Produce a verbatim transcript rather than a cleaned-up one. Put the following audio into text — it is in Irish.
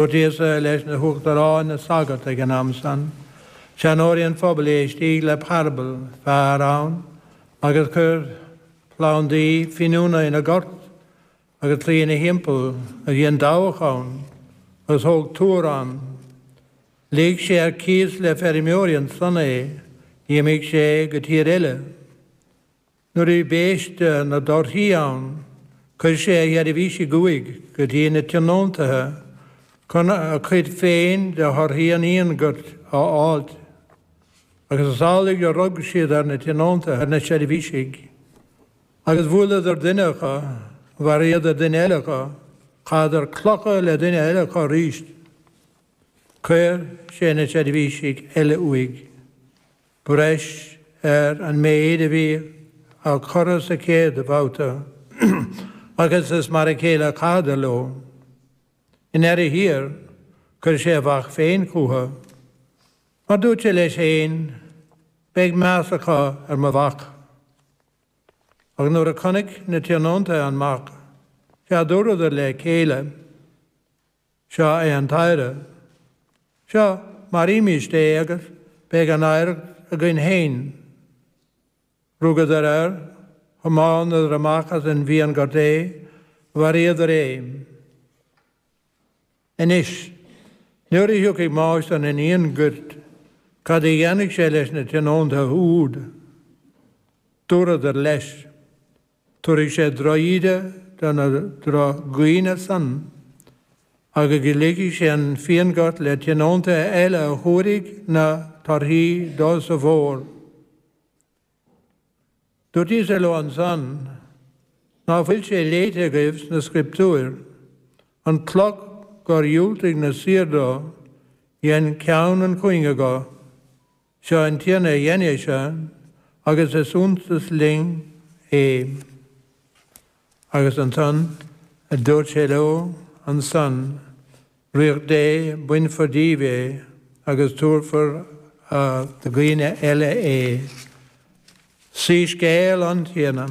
Dúirt Íosa leis na huachtaráin na sagart ag an am san, seanóirí an phobail, Éistíg le parabal, fear ann agus chuir plandaí fíniúna ina ghort agus claí ina thimpeall agus dhein dabhach ann agus thóg túr ann. Lig sé ar cíos le feirmeoirí ansan é, d'imigh sé go tír eile. Nuair a bhí béiste na dtorthaí ann, chuir sé a sheirbhísigh uaidh go dtí na tionóntaithe chun a chuid féin de thorthaí an fhíonghoirt a fháilt. Agus is amhlaidh a rug siad ar na tionóntaithe, ar na seirbhísigh, agus bhuaileadar duine acu, mharaíodar duine eile acu, chaitheadar clocha le duine eile acu arís. Chuir sé na seirbhísigh eile uaidh. Breis ar an méid a bhí á chur sa chéad bhabhta, agus is mar a chéile a chaitheadar leo. I ndeireadh thiar, chuir sé a mhac féin chucu, mar dúirt sé leis féin, Beidh meas acu ar mo mhac. Ach nuair a chonaic na tionóntaithe an mac, sea dúradar le chéile, Seo é an t-oidhre. Seo, maraímist é agus beidh an oidhreacht againn féin. Rugadar air, thiomáineadar amach as an bhfíonghort é, mharaíodar é. Anois, nuair a thiocfaidh máistir an fhíonghoirt, cad a dhéanfaidh sé leis na tionóntaithe úd? Dúradar leis, Tabharfaidh sé drochíde do na drochdhaoine san, agus ligfidh sé an fíonghort le tionóntaithe eile a thabharfaidh na torthaí dó sa bhfómhar. Dúirt Íosa leo ansan, Ná fuil sé léite agaibh sna Scrioptúir, An chloch gur dhiúltaigh na saoir dó, dhein ceann an chúinge dho. Seo an Tiarna a dhein é seo, agus is iontas linn é. Agus ansan dúirt sé leo ansan, Ríocht Dé, bainfear díbh é agus tabharfar do dhaoine eile é. Soiscéal an Tiarna.